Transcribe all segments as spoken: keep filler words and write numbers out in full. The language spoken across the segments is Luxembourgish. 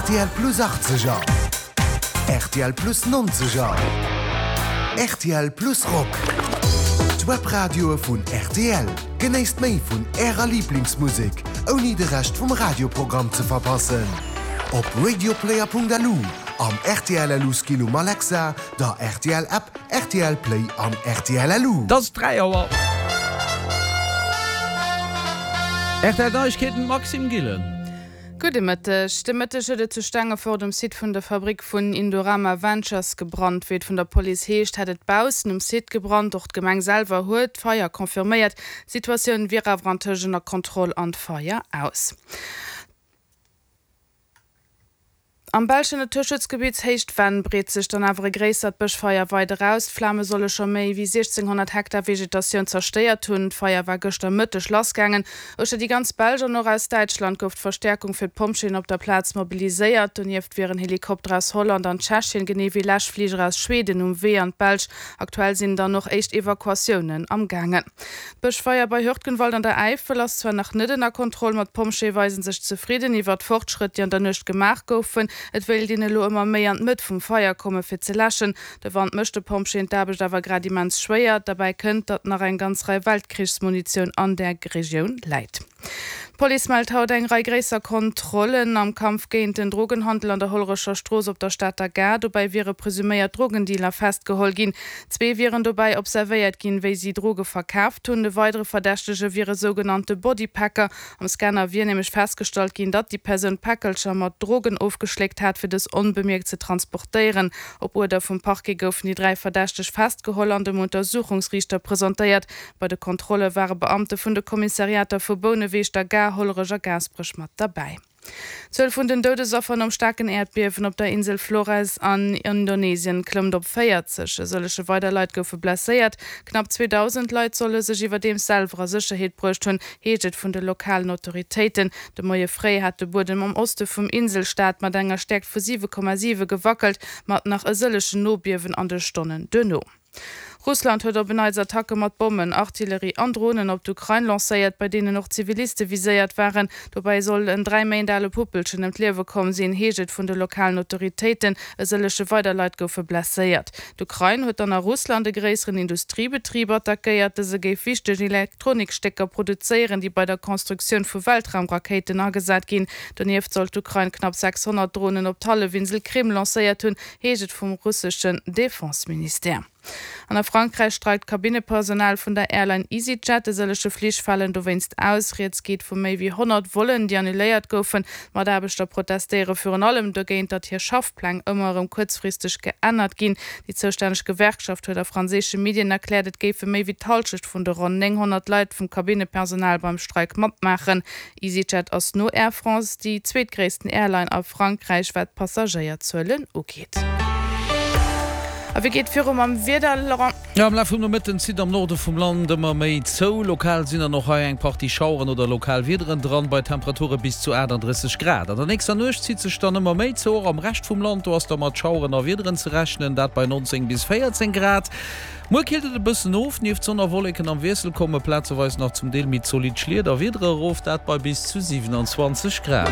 R T L Plus achtzeger, R T L Plus nonzeger, R T L Plus Rock. D'Webradioe vun R T L. Genéisst méi vun Ärer Liblingsmusek, ouni de Rescht vum Radioprogramm ze verpassen. Op radioplayer Punkt L U, am R T L L U Skill um Alexa, der R T L App, R T L Play an R T L L U. Et ass dräi Auer. R T L Neiegkeeten, Maxime Gillen. Gudde Mëtteg. De Mëtteg huet et zu Stengefort um Site vun der Fabrik vun Indorama Ventures gebrannt. Wéi et vun der Police heescht, hätt et baussen um Site gebrannt. Och d'Gemeng selwer huet d'Feier confirméiert. D'Situatioun wier awer antëscht ënner Kontroll an d'Feier aus. Am belschen Naturschutzgebitt Héicht Venn breet sech dann awer e gréissert Bëschfeier weider aus. D'Flame solle scho méi wéi siechzénghonnert Hektar Vegetatioun zerstéiert hunn. D'Feier war gëschter Mëtteg lassgaangen. Uechter déi ganz Belsch an och aus Däitschland gouf d'Verstäerkung fir d'Pompjeeën op der Plaz mobiliséiert. Donieft wieren Helikopter aus Holland an Tschechien, genee wéi Läschfliger aus Schweden um Wee an d'Belsch. Aktuell sinn dann och éischt Evakuatiounen am gaangen. D'Bëschfeier bei Hürtgenwald an der Äifel ass zwar nach net ënner Kontroll, ma d'Pompjeeë weise sech zefridden iwwer d'Fortschrëtt, déi an der Nuecht gemaach goufen. Et wéilt een elo ëmmer méi an d'Mëtt vum Feier komme fir ze läschen. De Wand mécht de Pompjeeën d'Aarbecht awer grad immens schwéier. Derbäi kënnt, datt nach eng ganz Rei Weltkrichsmunitioun an där Regioun läit. D'Police mellt haut eng Rei gréisser Kontrollen am Kampf géint den Drogenhandel an der Hollerecher Strooss op der Stater Gare. Dobäi wiere presuméiert Drogendealer festgeholl ginn. Zwee wieren dobäi observéiert ginn, wéi si Droge verkaaft hunn. E weidere Verdächtege wier e sougenannte Bodypacker. Am Scanner wier nämlech festgestallt ginn, datt déi Persoun Päckelcher mat Drogen ofgeschléckt hat, fir dës onbemierkt ze transportéieren. Op Uerder vum Parquet goufen déi dräi Verdächteg festgeholl an dem Untersuchungsriichter presentéiert. Bei de Kontrolle ware Beamte vun de Kommissariater vu Bouneweg, der Gare, Hollerech a Gaasperech mat derbäi. D'Zuel vun den Doudesaffer nom staarken Äerdbiewen op der Insel Flores an Indonesien klëmmt op véierzeg. E sëllege weider Leit goufe blesséiert. Knapp zweedausend Leit solle sech iwwerdeems selwer a Sécherheet bruecht hunn, heescht et vun de lokalen Autoritéiten. De Moie fréi hat de Buedem am Oste vum Inselstaat mat enger Stäerkt vu siwe Komma siwe gewackelt, mat nach e sëllegen Nobiewen an de Stonnen duerno. Russland huet op en Neits Attacke mat Bommen, Artillerie an Dronen op d'Ukrain lancéiert, bei deenen och Ziviliste viséiert waren. Dobäi soll en dräi Méint ale Puppelchen ëm d'Liewe komm sinn, heescht et vun de lokalen Autoritéiten. E sëllege weider Leit goufe blesséiert. D'Ukrain huet dann a Russland e gréisseren Industriebetrib attackéiert. Dëse géif wichteg Elektronikstécker produzéieren, déi bei der Konstruktioun vu Weltraumrakéiten agesat ginn. Donieft soll d'Ukrain knapp sechshonnert Dronen op d'Hallefinsel Krim lancéiert hunn, heescht et vum russeschen Defenseministère. An a Frankräich streikt d'Kabinnepersonal vun der Airline EasyJet. E sëllege Flich falen dowéinst aus. Rieds geet vu méi wéi honnert Vollen, déi annuléiert goufen. D'Mataarbechter protestéiere virun allem dogéint, datt hir Schaffpläng ëmmer erëm kuerzfristeg geännert ginn. Déi zoustänneg Gewerkschaft huet a franséische Medien erkläert, et géife méi wéi d'Hallschecht vun de ronn nénghonnert Leit vum Kabinnepersonal beim Streik matmaachen. EasyJet ass no Air France déi zweetgréissten Airline a Frankräich, wat d'Passagéierzuelen ugeet. A wéi geet viru mam Wieder, Laurent? Jo, am Laf vum Nomëtten zitt am Norde vum Land ëmmer méi zou. Lokal sinn dann och hei eng Partie Schaueren oder lokal Wiederen dran, bei Temperature bis zu aachtanddrësseg Grad. An der nächster Nuecht zitt sech dann ëmmer méi zou, och am Rescht vum Land. Do ass da mat Schaueren a Wiederen ze rechnen, dat bei nonzéng bis véierzéng Grad. Muer killt et e bëssen of, nieft Sonn a Wolleken am Wiessel komme plazeweis nach zum Deel méi zolidd Schliet a Wiedere erof, dat bei bis zu siwenanzwanzeg Grad.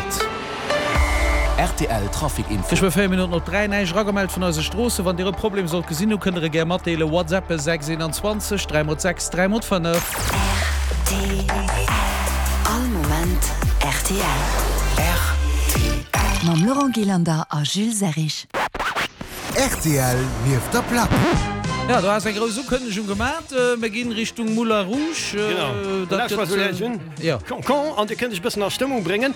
R T L Trafic Info. Geschwë véier Minutten op dräi. Näischt eragemellt vun eise Stroossen. Wann Dir e Problem sollt gesinn hu kënnt der e gär matdeelen. WhatsAppe sechs eenanzwanzeg dräi mol sechs dräi mol fënnef. R T L All Moment R T L. R T L. Mam Laurent Gillander a Jules Serrig. R T L nieft der Plack. Jo, do has eng grouss Ukënnegung gemat. Mir ginn Richtung Moulin Rouge. Genau, dat gëtt jo. Con, an Dir kënnt iech e bëssen a Stëmmung bréngen.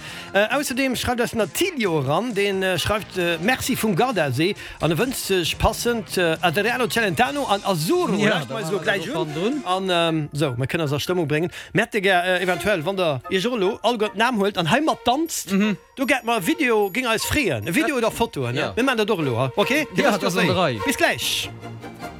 Ausserdeem schreift eis den Attilio eran, dee schreift Merci vum Gardasee an e wënscht sech passend Adriano Celentano an Azzurro. Lauschtert mer eis elo gläich un an esou, mir kënnen eis a Stëmmung bréngen. Mir hätte gär eventuell, wann der iech och elo alleguer d'Naam huelt an hei mat danzt. Do gett mer e Video, géing eis freeën, e Video oder Fotoen, mir maan dat och elo, ok? Dir wësst jo wéi. Bis gläich!